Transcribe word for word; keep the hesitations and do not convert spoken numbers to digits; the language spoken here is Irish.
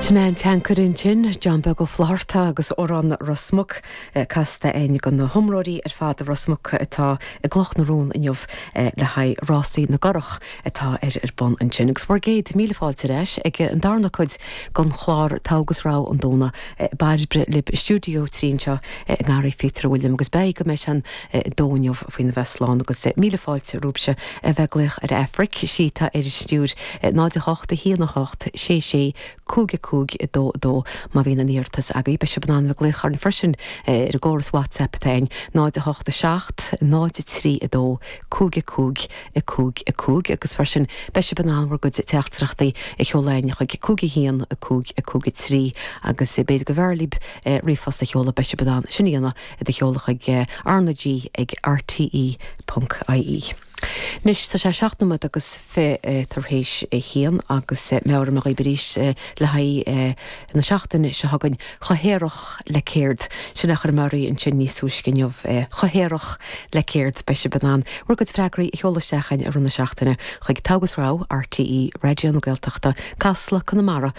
Sin é an teancair ansin John Beag Ó Flatharta agus Amhrán Ros Muc casta againn do na hiomróirí ar fad i Ros Muc atá i gCloch na Rón inniu le haghaidh rásaí na gcurach atá ar ar bun ansin. Agus bhur gcéad míle fáilte ar ais ag an darna cuid den chlár Togha agus Rogha an Domhnaigh Bairbre libh i stiúideo trí anseo i nGarraí Phíotair William agus beidh go mbeidh an dó inniu faoina bheith slán agus míle fáilte romhaibhse a bheith ag glaoch ar Aifric sí atá ar an stiúir náid a hocht a haon a hocht sé sé cúig cúig a dó dó má bhíonn aon iarratas agaibh beidh sibh in ann glaoch orainn freisin ar an gcóras WhatsApp atá ann náid a hocht a seacht náid a trí a dó cúig cúig a cúig a cúig agus freisin beidh sibh in ann bhur gcuid teachtaireachtaí a sheoladh chuig cúig a haon a cúig a cúig a trí agus b'fhéidir go mb'fhearr libh ríomhphost a sheoladh beidh sibh in ann sin a dhéanamh do sheoladh chuig RnaG ag RTE ponc IE. Anois tá sé seacht nóiméad agus fiche tar éis a haon agus meabhraím daoibh arís le haghaidh na seachtaine seo chugainn chomh haerach le céard sin a chuir Mary ansin níos túisce inniu chomh haerach le céard beidh sibh in ann bhur gcuid freagraí a sheoladh isteach i rith na seachtaine chuig Togha agus Rogha RTE Raidió na Gaeltachta Casla Conamara